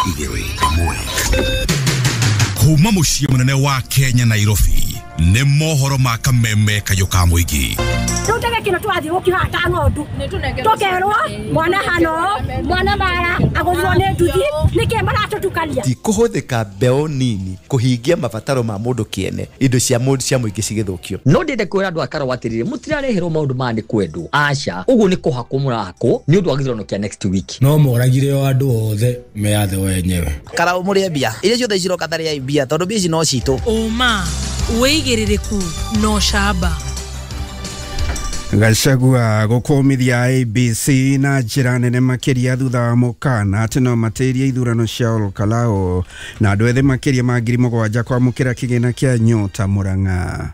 Igĩrĩ ĩmwe. Kuma mũciĩ mũnene wa Kenya, Nairobi, nĩ mohoro ma kameme kayũ ka mũingĩ. Rĩu ndege kĩno tũrathiĩ gũkihaha ta ng'ondu, tũkerwo mwana hano mwana mara agũthirwo nĩ nduthi. Nĩkĩ maratũtukania? Ti kũhũthĩka mbeũ nini kũhingia mabataro ma mũndũ kĩene, indo cia mũndũ cia mũingĩ cigĩthũkio. No ndĩende kwĩra andũ a Karau atĩrĩrĩ, mũtirareherwo maũndũ maya nĩ kwendwo, aca, ũguo nĩ kũhakwo mũrahakwo nĩ ũndũ wa gĩthurano kĩa next week. No moragire o andũ othe meyathe wenyewe. Karau mũrĩe mbia iria ciothe ciroka, tarĩai mbia tondũ mbia ici no citũ. Ũma, wĩigĩrĩrĩku na ũcamba. Gachagua gũkũmithia IEBC na njĩra nene makĩria thutha wa mũkana atĩ no matĩrie ithurano cia Olkalou, na andũ ethĩ makĩria ma 7,000 kwamũkĩra kĩgĩna kĩa Nyota Mũrang'a.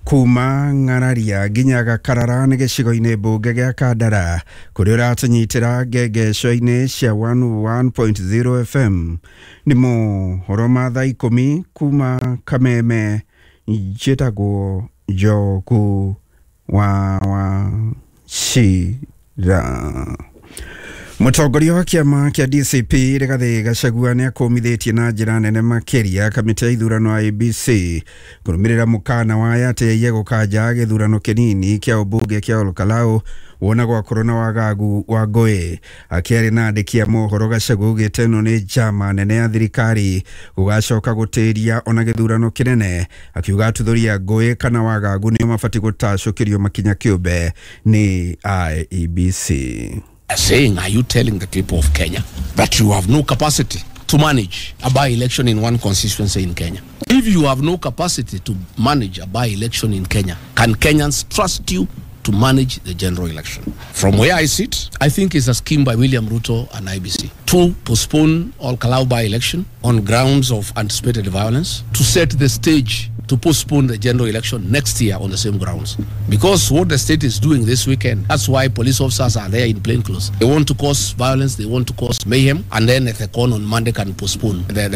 Kuma Ng'araria nginya Gakarara nĩ gĩcigo-inĩ mbunge gĩa Kandara kũrĩa ũratũnyitĩra ngengeco-inĩ cia 101.0 FM. Nĩ mohoro ma thaa 10 kuma Kameme. Njĩtagwo Njogu wa Wachira. Mũtongoria wa kĩama kĩa DCP Rigathĩ Gachagua nĩ akũmithĩtie na njĩra nene makĩria kamĩtĩ ya ithurano IEBC kũrũmĩrĩra mũkana wa atĩ aiye gũkanja gĩthurano kĩnini kĩa ũmbunge kĩa Olkalou wona gwakorwo na wagagu wa ngũĩ. Akĩaria na andĩki a mohoro, Gachagua augĩte ĩno nĩ njama nene ya thirikari gũgacoka gũtĩria ona gĩthurano kĩnene, akiuga atuthũri a ngũĩ kana wagagu nĩo mabatiĩ gũtacũkĩrio makinya kĩũmbe nĩ IEBC. Saying, are you telling the people of Kenya that you have no capacity to manage a by-election in one constituency in Kenya? If you have no capacity to manage a by-election in Kenya, can Kenyans trust you to manage the general election? From where I sit, I think it's a scheme by William Ruto and IEBC to postpone Olkalou by-election on grounds of anticipated violence, to set the stage to postpone the general election next year on the same grounds. Because what the state is doing this weekend, that's why police officers are there in plain clothes. They want to cause violence, they want to cause mayhem, and then Ethekon on Monday can postpone the